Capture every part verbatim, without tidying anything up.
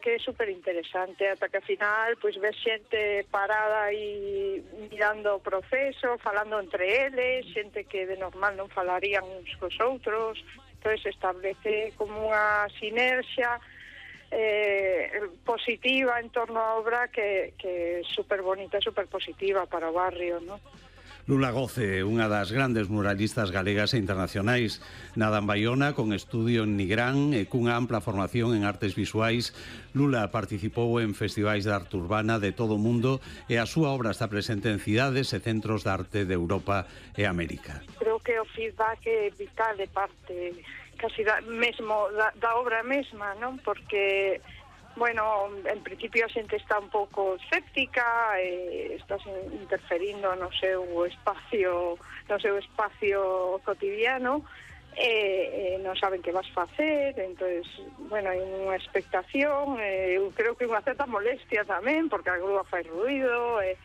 que é super interesante, ata que ao final pois ves xente parada e mirando o proceso, falando entre eles, xente que de normal non falarían uns cos outros, entón se establece como unha sinerxia eh, positiva en torno á obra que, que é super bonita, super positiva para o barrio, non? Lula Goce, unha das grandes muralistas galegas e internacionais, nada en Baiona, con estudio en Nigrán e cunha ampla formación en artes visuais. Lula participou en festivais de arte urbana de todo o mundo e a súa obra está presente en cidades e centros de arte de Europa e América. Creo que o feedback é vital de parte casi da, mesmo da, da obra mesma, non? Porque bueno, en principio a xente está un pouco escéptica, e estás interferindo no seu espacio, no seu espacio cotidiano, e, e non saben que vas facer, entonces, bueno, hai unha expectación, e eu creo que unha certa molestia tamén, porque a grúa fai ruido, e,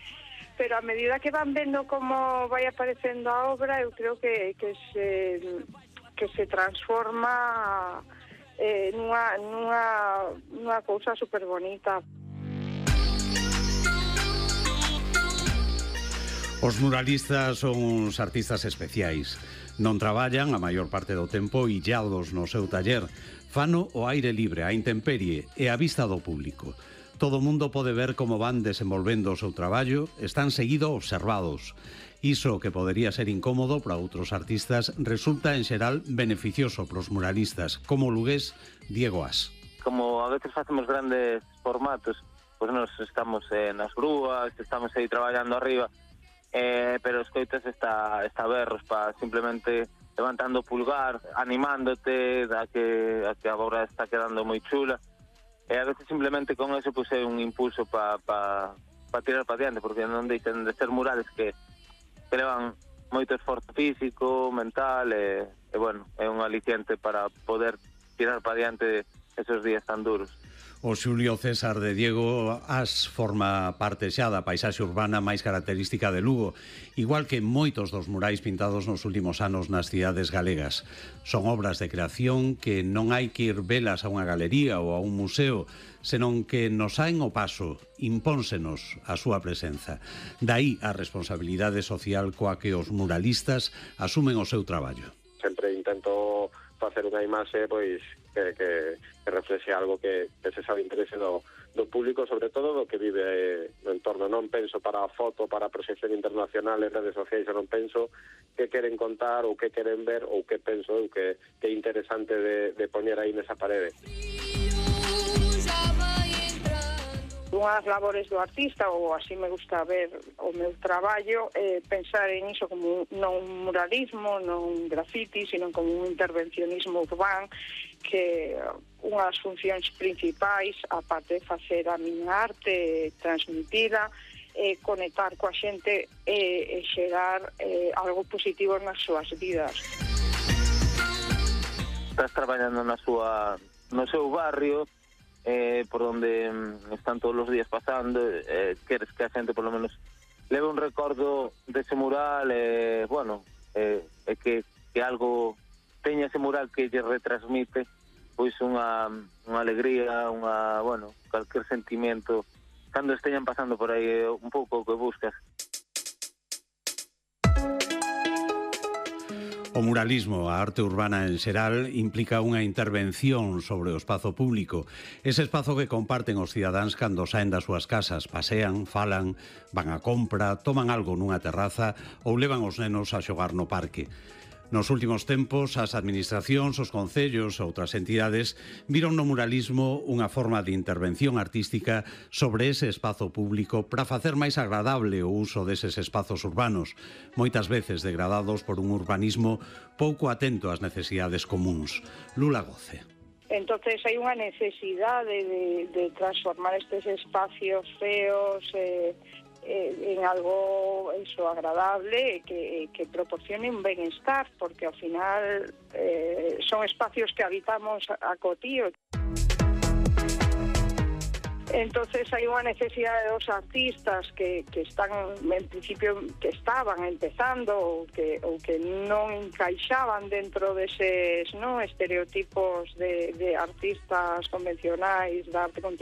pero a medida que van vendo como vai aparecendo a obra, eu creo que, que se que se transforma Eh, nunha, nunha, nunha cousa super bonita. Os muralistas son uns artistas especiais. Non traballan a maior parte do tempo illados no seu taller. Fano o aire libre, a intemperie e a vista do público. Todo o mundo pode ver como van desenvolvendo o seu traballo, están seguido observados. Iso que podería ser incómodo para outros artistas resulta en xeral beneficioso para os muralistas, como o lugués Diego As. Como a veces facemos grandes formatos, pois nos estamos eh, nas grúas, estamos aí traballando arriba, eh, pero escoitas está, está berros para simplemente levantando o pulgar, animándote a que, a que a obra está quedando moi chula, e a veces simplemente con eso pois é un impulso para pa, pa tirar para diante, porque non deixan de ser murales que que levan moito esforzo físico, mental, e, e bueno, é un aliciente para poder tirar para diante esos días tan duros. O Xulio César de Diego As forma parte xa da paisaxe urbana máis característica de Lugo, igual que moitos dos murais pintados nos últimos anos nas cidades galegas. Son obras de creación que non hai que ir velas a unha galería ou a un museo, senón que nos saen o paso, impónsenos a súa presenza. Daí a responsabilidade social coa que os muralistas asumen o seu traballo. Sempre intento facer unha imaxe pois que, que, que reflexe algo que, que se sabe interese do, do público, sobre todo do que vive no entorno. Non penso para a foto, para a proxección internacional en redes sociais, non penso que queren contar ou que queren ver ou que penso eu que, que é interesante de, de poñer aí nesa parede. Unhas labores do artista, ou así me gusta ver o meu traballo, eh, pensar en iso como non un muralismo, non un graffiti, sino como un intervencionismo urbano, que unha das funcións principais, aparte de facer a miña arte, transmitila, eh, conectar coa xente e eh, xerar eh, algo positivo nas súas vidas. Estás traballando na súa, no seu barrio, Eh, por onde están todos os días pasando, eh, queres que a xente por lo menos leve un recordo dese mural, eh, bueno, eh, e que, que algo teña ese mural que lle retransmite pois unha, unha alegría, unha, bueno, calquer sentimento cando esteñan pasando por aí, un pouco o que buscas. O muralismo, a arte urbana en xeral, implica unha intervención sobre o espazo público. Ese espazo que comparten os cidadáns cando saen das súas casas, pasean, falan, van á compra, toman algo nunha terraza ou levan os nenos a xogar no parque. Nos últimos tempos, as administracións, os concellos e outras entidades viron no muralismo unha forma de intervención artística sobre ese espazo público para facer máis agradable o uso deses espazos urbanos, moitas veces degradados por un urbanismo pouco atento ás necesidades comuns. Lula Goce. Entonces hai unha necesidade de, de transformar estes espacios feos eh, en algo eso agradable que, que proporcione un benestar, porque ao final eh, son espacios que habitamos a cotío. Entonces hai unha necesidade dos artistas que, que están, en principio, que estaban empezando ou que, ou que non encaixaban dentro deses, ¿no?, estereotipos de, de artistas convencionais da arte contemporánea,